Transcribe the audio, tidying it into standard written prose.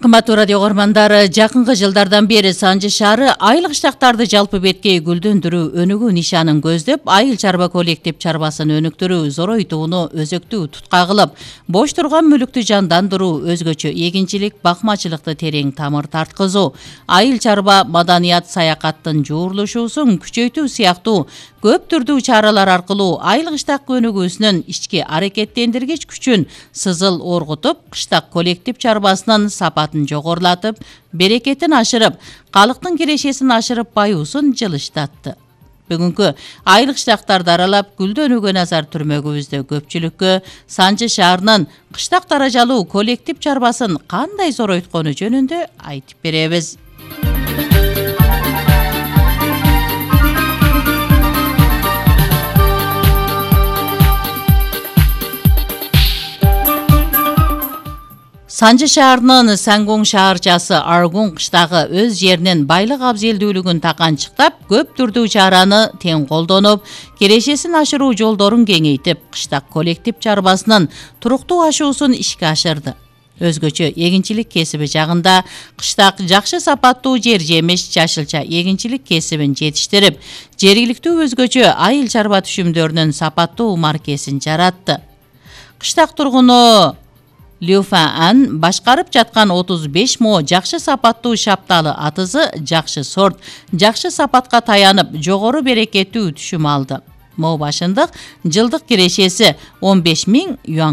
Кымбаттуу радио көрмандар, жакынкы жылдардан бери Санжы шаары айыл кыштактарды жалпы беткей гүлдөндүрүү өнүгүү нишанын көздөп, айыл чарба коллектив чарбасын өнүктүрүү, зоройтууну өзөктүү тутка кылып, бош турган мүлүктү жандандыруу, өзгөчө эгинчилик, бакмачылыкты терең тамыр тарткызуу, айыл чарба маданият саякаттын жуурулушуусун күчөйтүү сыяктуу көп түрдүү чаралар аркылуу айыл кыштак өнүгүүсүнүн ички аракеттендиргич күчүн сызыл оргутуп, кыштак коллектив чарбасынын сапатын жогорулатып, берекетин ашырып, калктын кирешесин ашырып, баюусун жылыштатты. Бүгүнкү айыл кыштактарды аралап, гүлдөнүүгө назар түрмөгүбүздө көпчүлүккө Санжы шаарынын кыштак даражалуу коллектив чарбасын кандай зоройткону жөнүндө айтып беребиз. Санжы шаарынын Сангоң шаарчасы Аргун кыштагы өз жеринин байлык абзелдүүлүгүн таканчыктап, көп түрдүү чараны тең колдонуп, кирешесин ашыруу жолдорун кеңейтип, кыштак коллектив чарбасынын туруктуу ашуусун ишке ашырды. Өзгөчө эгинчилик кесиби жагында кыштак жакшы сапаттуу жер жемиш, жашылча эгинчилик кесибин жетиштирип, жергиликтүү өзгөчө айыл чарба түшүмдөрүнүн сапаттуу маркесин жаратты. Кыштак тургуну Люфан башкарып жаткан 35 мо жакшы сапаттуу шапталы атызы жакшы сорт, жакшы сапатка таянып, жогору берекеттүү түшүм алды. Мо башындык жылдык кирешеси 15.000 юан